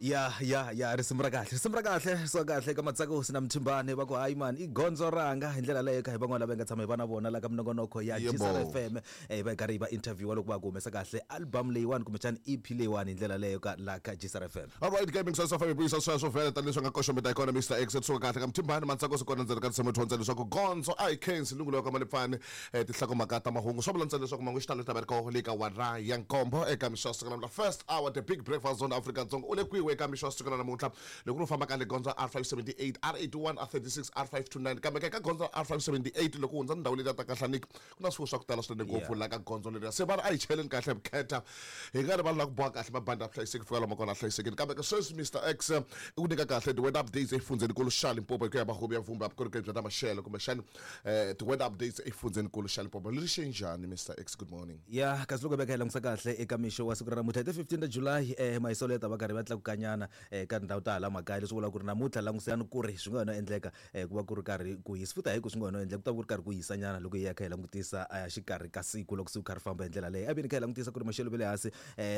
Ya ya ya, risimu ra kahle, risimu ra kahle, so kahle ka Matsakusi na Mthimbani va ku hayi mani i gondzo ranga hi ndlela leyo ka hi van'wana lava hi nga tshama hi va na vona la ka minongonoko ya Yebo. Gisela FM, va hi karhi hi va interviewa loko va ku humesa kahle album leyiwani kumbexana EP leyiwani hi ndlela leyo ka la ka Gisela FM. Alright, gaming swa safa vuyisa sweswo vhele tanihileswi nga koxometa hi kona Mr X suka kahle ka Mthimbani Matsakusi kona ndzeni ka tinsimu dyondza leswaku gondzo a hi khensi lungulo ka Malipfani, tinhlokomhaka ta mahungu swa vula ntsena leswaku mahungu xitalo ta va ri koho le ka wara ya nkombo eka mixo wa siku namuntlha. First hour, the big breakfast zone Afrika-Dzonga u le kwihi eka mixo wa siku ra namuntlha loko ri famba ka le gondzo R578, R81, R36, R529, kambe ka gondzo R578 loko u hundza ndhawu letiya ta Kahlaniki ku na swifuwo swa ku tala swinene ngopfu la ka gondzo leriya, se va ri a hi cheleni kahle vukheta hi nga rivali na ku boha kahle mabandi ya vuhlayiseki fika lomu kona a hlayisekile. Kambe ka sweswi Mr X i ku nyika kahle ti-weather updates exifundzhenikulu xa Limpopo hi ku ya mahungu ya vumba ya vukorhokeri bya ta maxelo kumbexana ti-weather updates exifundzhenikulu xa Limpopo leri xe njhani Mr X, good morning. Ya, kasi loko hi veka hi langutisa kahle eka mixo wa siku ra namuntlha hi ti 15 ta July, mahiselo ya ta va karhi va tlakukanyana ka tindhawu ta hala makaya, leswi vulaka ku ri namuntlha langusani ku ri swi nga no endleka ku va ku ri karhi ku hisa futhi hayi ku swi nga no endleka ku ta va ku ri karhi ku hisanyana loko hi ya kha hi langutisa xikarhi ka siku loko siku kha ri famba hi ndlela leyi. A veni kha hi langutisa ku ri maxelo ma le hansi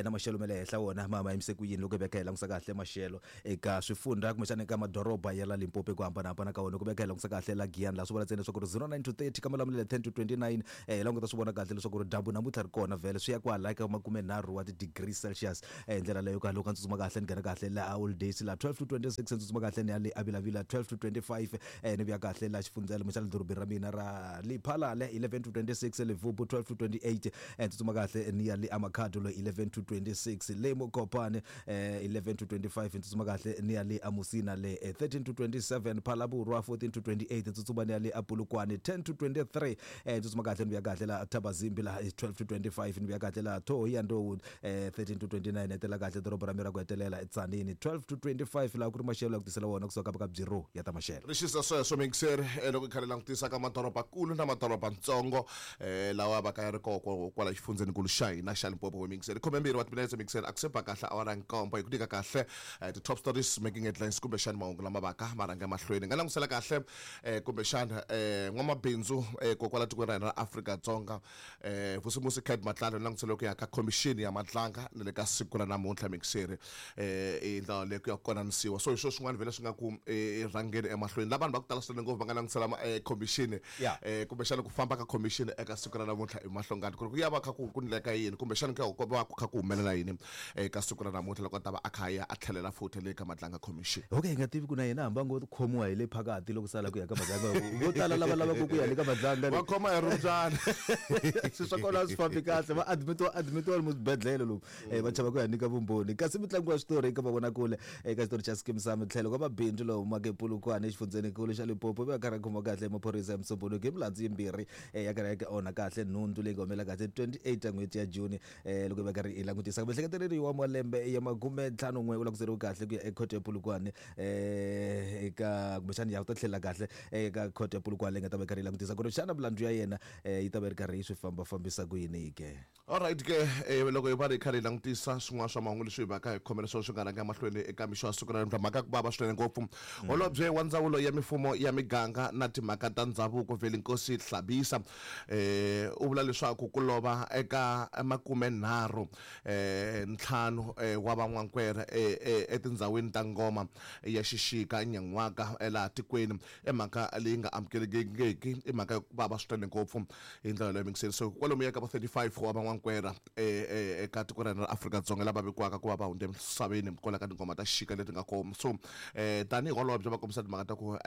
na maxelo ma le henhla wona ma yimise ku yini loko hi veka hi langutisa kahle maxelo eka swifundha kumbexana eka madoroba ya la Limpopo ku hambanahambana ka wona. Ku veka hi langutisa kahle la Giyani laha swi vula ntsena leswaku ri 09 to 30 ka Malamulele 10 to 29, laha u nga ta swi vona kahle leswaku ri dyambu namuntlha ri kona vhele swi ya kwala eka makumenharhu wa ti-degree Celsius. Hi ndlela leyo ka loko a tsutsuma kahle ni nghena kahle la Holidays la 12 to 26, ni tsutsuma kahle ni ya le Avilavila 12 to 25, ni vuya kahle la xifundzela kumbexana dorobeni ra mina ra Lephalale 11 to 26, Levubu 12 to 28, ni tsutsuma kahle ni ya le Amakhado lo 11 to 26, le Mokopane 11 to 25, ni tsutsuma kahle ni ya le Amusina le 13 to 27, Phalaborwa 14 to 28, ni tsutsuma ni ya le Apulukwane 10 to 23, ni tsutsuma kahle ni vuya kahle la Thabazimbi la 12 to 25, ni vuya kahle la Thohoyandou 13 to 29, hetela kahle doroba ra mina ra ku hetelela eTsanini 12 to 25, laha ku ri maxelo ya ku tisela wona kusuka ka Bureau ya ta maxelo. Ri xisa sweswo mixer, loko hi kha hi langutisa ka madorobakulu na madorobantsongo lawa va ka ya ri koko kwala xifundzhenikulu xa hina xa Limpopo we mixer. 12 wa timinetse mixer a ku se ba kahle awara ya nkombo hi ku nyika kahle ti-top stories making headlines kumbexana mahungu lama vaka ma rhanga emahlweni. Hi nga langutisela kahle kumbexana n'wamabindzu kokwala tikweni ra hina ra Afrika-Dzonga Vusimusi Cat Matlala ni langutisela ku ya ka khomixini ya Matlanga na le ka siku ra namuntlha mixer, i ndlela leyi ku ya konanisiwa. So hi swo swin'wana vhele swi nga ku rhangeni emahlweni la vanhu va ku tala swinene ngopfu va nga langutisela khomixini, kumbexana ku famba ka khomixini eka siku ra namuntlha hi mahlongani ku ri ku ya va kha ku ndleka yini kumbexana ku ya ku va ku kha ku humelela yini eka siku ra namuntlha loko a ta va a kha a ya a tlhelela futhi le ka Matlanga Commission. Okay, hi nga tivi ku na yena hambi a ngo khomiwa hi le phakathi loko sala ku ya ka Matlanga, vo tala lava lavaka ku ya le ka Matlanga va khoma hi rumbyana. Swilo swa kona a swi fambi kahle, va admitiwa admitiwa lomu swibedhlele lomu, va chava ku ya nyika vumbhoni. Kasi mitlangu ya switori eka mavonakule eka xitori xa Skeem Saam tlhelo ka mabindzu lowu humaka ePolokwane exifundzhenikulu xa Limpopo va karhi a khomiwa kahle hi maphorisa ya Musumbhunuku hi milandzu yimbirhi, ya karhi ya onha kahle nhundzu leyi nga humela kahle 28 ta n'hweti ya June. Loko hi va karhi hi langutisa miehleketeleriwa wa malembe ya 51 u languteriwe kahle ku ya ekhoto ya Polokwane, eka kumbexana ya u ta tlhela kahle eka khoto ya Polokwane leyi nga ta va yi karhi yi langutisa ku ri xana milandzu ya yena yi ta va yi ri karhi yi swi fambafambisa ku yini ke. Alright ke, loko hi va ri karhi hi langutisa swin'wana swa mahungu leswi hi vaka hi khomele swona swi nga rhanga emahlweni eka mixo ya siku ra namuntlha, mhaka ya ku vava swinene ngopfu. Holobye wa ndzawulo ya mifumo ya miganga na timhaka ta ndhavuko Vhelinkosi Hlabisa u vula leswaku ku lova eka makumenharhu ntlhanu wa van'wankwere etindhawini ta ngoma ya xixika nyan'waka laha tikweni i mhaka leyi nga amukelekiki, i mhaka ya ku vava swinene ngopfu hi ndlela leyo mingiseni. So kwalomuya ka va 35 wa van'wankwera eka tiko ra hina ra Afrika-Dzonga lava vikiwaka ku va va hundze emisaveni kwala ka tingoma ta xixika leti nga kona. So tanihi holobye va kombisa timhaka ta ku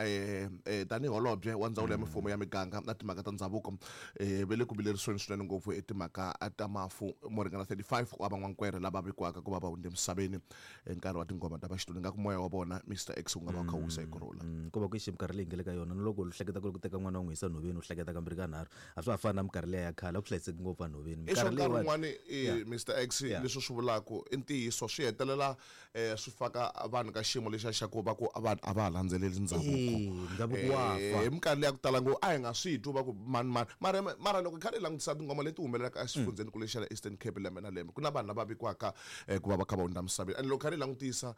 tanihi holobye wa ndzawulo ya mifumo ya miganga na timhaka ta ndhavuko, va le ku vilerisiweni swinene ngopfu hi timhaka ta mafu mo ringana 35 wa van'wankwere lava vikiwaka ku va va hundze emisaveni hi nkarhi wa tingoma ta vaxinuna. Ingaku moya wa vona Mr X wu nga va wu kha wu wisa hi kurhula. Ko va ku xi minkarhi leyi nga le ka yona na loko u hleketa ku ri ku teka n'wana u n'wi yisa nhoveni u hleketa kambirhi ka nharhu, a swa ha fani na minkarhi liya ya khale a ku hlayiseki ngopfu enhoveni. I swa nkarhi wun'wani, Mr X, leswi swi vulaka i ntiyiso swi hetelela swi faka vanhu ka xiyimo lexiya xa ku va ku vanhu a va ha landzeleli ndhavuko. Ndhavuko wa fa. Hi minkarhi leya ku tala ngopfu a hi nga swi twi va ku mani mani, mara mara loko hi kha hi langutisa tinghoma leti humelelaka exifundzheni kule xa le Eastern Cape lembe na lembe ku na vanhu lava vikiwaka ku va va kha va hundza misaveni, and loko kha hi langutisa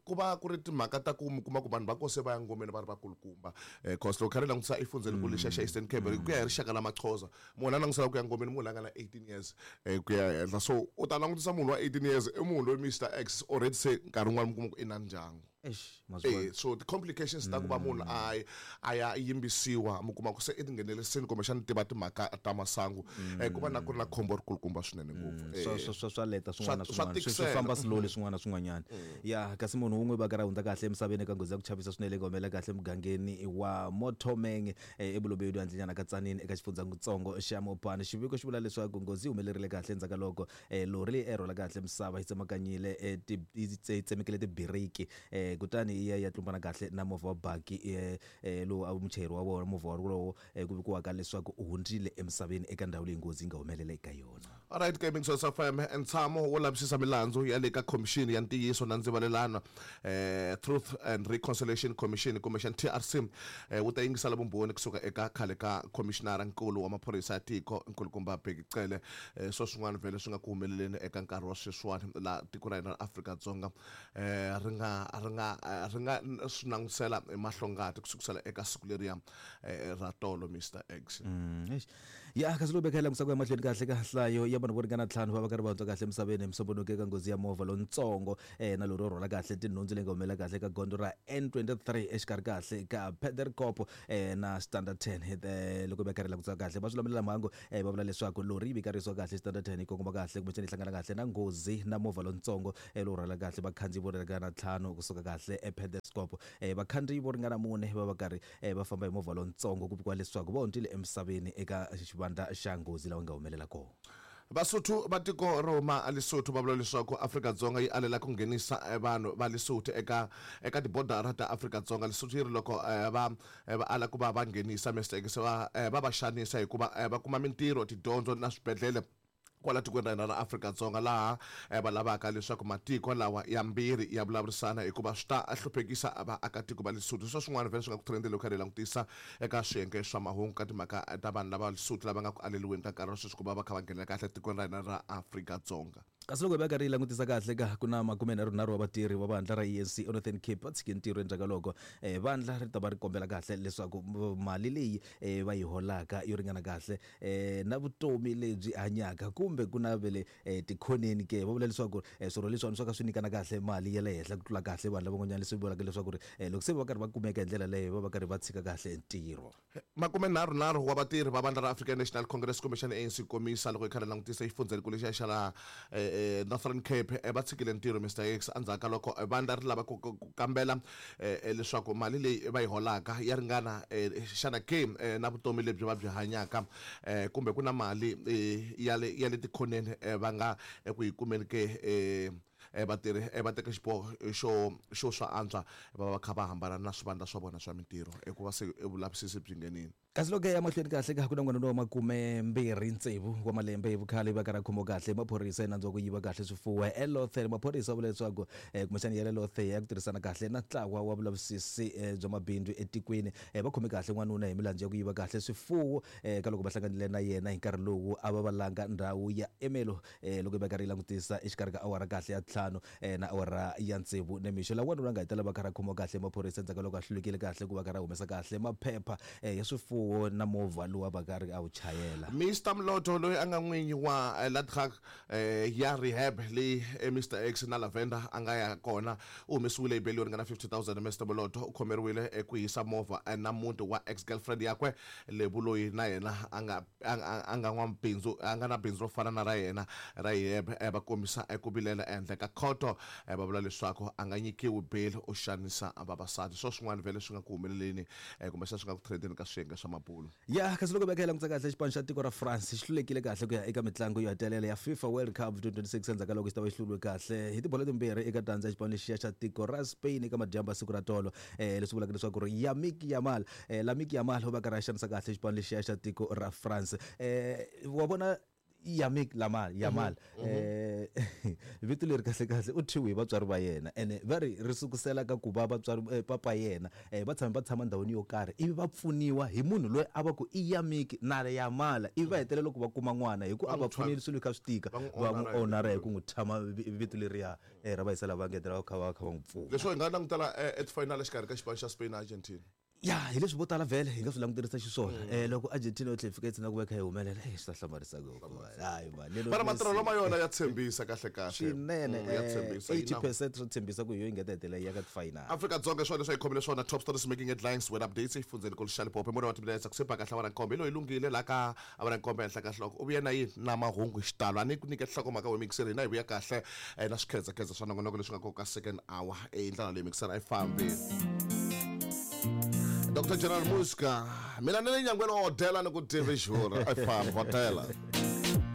ku va ku ri timhaka ta ku mi kuma ku vanhu va kose va ya ngomeni va ri vakulukumba, cause loko kha ri langutisa exifundzheni kule xa xa Eastern Cape ku ya hi rixaka la Maxhosa, munhu a langutisela ku ya ngomeni munhu la nga na 18 years ku ya henhla, so u ta langutisa munhu wa 18 years i munhu loyi Mr X already. Already se nkarhi wun'wana mi kuma ku i na ndyangu. Eish, ma swi vona. So ti-complications ta ku va munhu a ya yimbisiwa, mi kuma ku se i tinghenelerisini kumbexana tiva timhaka ta masangu, ku va na ku ri na khombo ri kulukumba swinene ngopfu. Swa leta swin'wana na Swa swin'wana. Swi tikisela. famba slowly swin'wana na swin'wanyana. Ya, kasi munhu wun'we va karhi a hundza kahle emisaveni eka nghozi ya ku chavisa swinene leyi nga humelela kahle emugangeni wa Mothomeng, eBolobedu handlenyana ka Tzaneen eka xifundzatsongo xa Mopani. Xiviko xi vula leswaku nghozi yi humelerile kahle endzhaku ka loko lori leyi a yi rhwala kahle misava yi tsemakanyile, yi tsemekile tibiriki, kutani yi ya yi ya tlumbana kahle na movha wa baki, lowu a muchayeri wa vona movha wolowo, ku vikiwaka leswaku u hundzile emisaveni eka ndhawu leyi nghozi yi nga humelela eka yona. Alright, Gaming Source FM, ntshamo wo lavisisa milandzu ya le ka Khomixini ya Ntiyiso na Ndzivalelano, Truth and Reconciliation Commission kumbexana TRC, wu ta yingisela vumbhoni kusuka eka khale ka khomishinara nkulu wa maphorisa ya tiko nkulukumba Bheki Cele. Swo swin'wana vhele swi nga ku humeleleni eka nkarhi wa sweswiwani laha tiko ra hina ra Afrika-Dzonga, ri nga swi langutisela hi mahlongati kusukisela eka siku leriya ra tolo, Mr X. Eish. Ya, kasi loko beka hi langutisa ku ya mahlweni kahle ka nhlayo ya vanhu vo ringana ntlhanu va va karhi va hundza kahle emisaveni hi musombuluko eka nghozi ya movha lowuntsongo, na lori yo rhwala kahle tinhundzu leyi nga humelela kahle eka gondzo ra N23 exikarhi kahle ka Pederkop, na Standerton. Loko va karhi langutisa kahle va swi lamulela mhangu, va vula leswaku lori yi vikarisiwa kahle Standerton yi kongoma kahle kumbexana yi hlangana kahle na nghozi na movha lowuntsongo, lowu rhwala kahle vakhandziyi vo ringana ntlhanu kusuka kahle ePederkop. Vakhandziyi vo ringana mune va va karhi, va famba hi movha lowuntsongo, ku vikiwa leswaku va hundzile emisaveni eka xivandla xa nghozi lawa nga humelela kona. Vasotho va tiko ro huma Lesotho va vula leswaku Afrika-Dzonga yi alela ku nghenisa vanhu va Lesotho eka tibodara ta Afrika-Dzonga. Lesotho yi ri loko va ala ku va va nghenisa Mr X, va xanisa hikuva va kuma mintirho, tidyondzo na swibedhlele kwala tikweni ra hina ra Afrika-Dzonga, laha va lavaka leswaku matiko lawa ya mbirhi ya vulavurisana hikuva swi ta hluphekisa vaakatiko va Lesotho. Swa swin'wana vhele swi nga ku trendeni loko karhi hi langutisa eka swiyenge swa mahungu ka timhaka ta vanhu lava Lesotho lava nga ku aleliweni ka nkarhi wa sweswi ku va va kha va nghenela kahle tikweni ra hina ra Afrika-Dzonga. Kasi loko hi va karhi hi langutisa kahle ka ku na 33 wa vatirhi va vandla ra ANC eNorthern Cape va tshike ntirho endzhaku ka loko, vandla ri ta va ri kombela kahle leswaku mali leyi, va yi holaka yo ringana kahle, na vutomi lebyi hanyaka kumbe ku na vele, tikhoneni ke. Va vula leswaku, swirho leswiwani swo ka swi nyikana kahle mali ya le henhla ku tlula kahle vanhu lavan'wanyana, leswi vulaka leswaku ri, loko se va karhi va kumeka hi ndlela leyo va va karhi va tshika kahle ntirho. 33 wa vatirhi va vandla ra African National Congress kumbexana ANC komisa, loko hi karhi langutisa xifundzhenikulu lexiya xa laha Northern Cape, va tshikile ntirho, Mr X, endzhaku ka loko vandla ri lava ku kambela leswaku mali leyi va yi holaka ya ringana xana ke, na vutomi lebyi va byi hanyaka, kumbe ku na mali ya le tikhoneni, va nga eku yi kumeni ke. Vatirhi, va teka xiboho xo swa antswa va va kha va hambana na swivandla swa vona swa mintirho hikuva se vulavisisi byi nghenile. Kasi loko ya mahlweni kahle ka ku na n'wana wa 26 wa malembe hi vukhale va karhi a khomiwa kahle hi maphorisa hi nandzu wa ku yiva kahle swifuwo eLothe. Maphorisa va vula leswaku, kumbexana ya le Lothe ya ku tirhisana kahle na ntlawa wa vulavisisi, bya mabindzu etikweni, va khome kahle n'wanuna hi milandzu ya ku yiva kahle swifuwo, ka loko va hlanganile na yena hi nkarhi lowu a va valanga ndhawu ya Emelo, loko va karhi yi langutisa exikarhi ka awara kahle ya 5, na awara ya 6 nimixo. Laha n'wanuna a nga hetelela va karhi a khomiwa kahle hi maphorisa endzhaku ka loko a hlulekile kahle ku va karhi a humesa kahle maphepha, ya swifuwo na movha lowu a va karhi a wu chayela. Mr Mlotho, loyi a nga n'winyi wa Ladgag, ya rehab leyi, Mr X na Lavender a nga ya kona, u humesiwile hi beli yo ringana 50 000. Mr Mlotho u khomeriwile ku hisa movha, na muti wa ex girlfriend yakwe Lebu, loyi na yena a nga n'wamabindzu, a nga na bindzu ro fana na ra yena ra rehab. Va kombisa ku vilela ehandle ka khoto, va vula leswaku a nga nyikiwi bail, u xanisa vavasati. Swo swin'wana vhele swi nga ku humeleleni, kumbexana swi nga ku trendeni ka swiyenge swa mabulu. Ya, kasi loko veka hi langutisa kahle xipano xa tiko ra France xi hlulekile kahle ku ya eka mitlangu yo hetelela ya FIFA World Cup 2026 endzhaku ka loko xi ta va xi hluriwe kahle hi tibolo timbirhi eka tandza ya xipano lexiya xa tiko ra Spain eka madyambu ya siku ra tolo, leswi vulaka leswaku ri Yamik Yamal, Lamine Yamal u va karhi a xanisa kahle xipano lexiya xa tiko ra France. Wa vona Yamik Lamal Yamal, vito leri kahle kahle u thyiwe hi vatswari va yena, ene va ri ri sukusela ka ku va vatswari, papa yena, va tshame va tshama ndhawini yo karhi ivi va pfuniwa hi munhu loyi a va ku i Yamik na Yamala, ivi va hetelela loko va kuma n'wana hi ku a va pfunile swilo kha swi tika, Va n'wi va n'wi honora hi honora hi ku n'wi tshama vito leriya, ra va yisa lava ngetela va kha va n'wi pfuna. Leswo hi nga langutela etifinal exikarhi ka xipano xa Spain na Argentina. Ya, hi leswi vo tala vhele hi nga swi languterisa xiswona. Loko Argentina yo tlhela yi fika yi tsina ku va yi kha yi humelela, swi ta hlamarisa ngopfu. Hayi mani, Lionel Mara Messi. Matirhelo ma yona ya tshembisa kahle kahle. Swinene. Ya tshembisa, yi na- 80% swo tshembisa ku hi yo yi nga ta hetelela yi ya ka ti-final. Afrika-Dzonga swona leswi a yi khomile swona. Top stories making headlines, weather updates efundzeni kulu xa Limpopo. Mune wa timinetse ku se ba kahle awara nkombo. Hi loyi lunghile laha ka awara nkombo ehenhla ka nhloko u vuye na yini na mahungu hi xitalo. A ni ku nyike nhlokomhaka we mixer, hina hi vuya kahle na swikhedzakhedza swa nongonoko leswi nga kona ka second hour. Hi ndlela leyi mixer a yi fambi. Dr General Muska, mina ni le nyangweni wa hodela ni ku tivi xura a yi fambi hodela.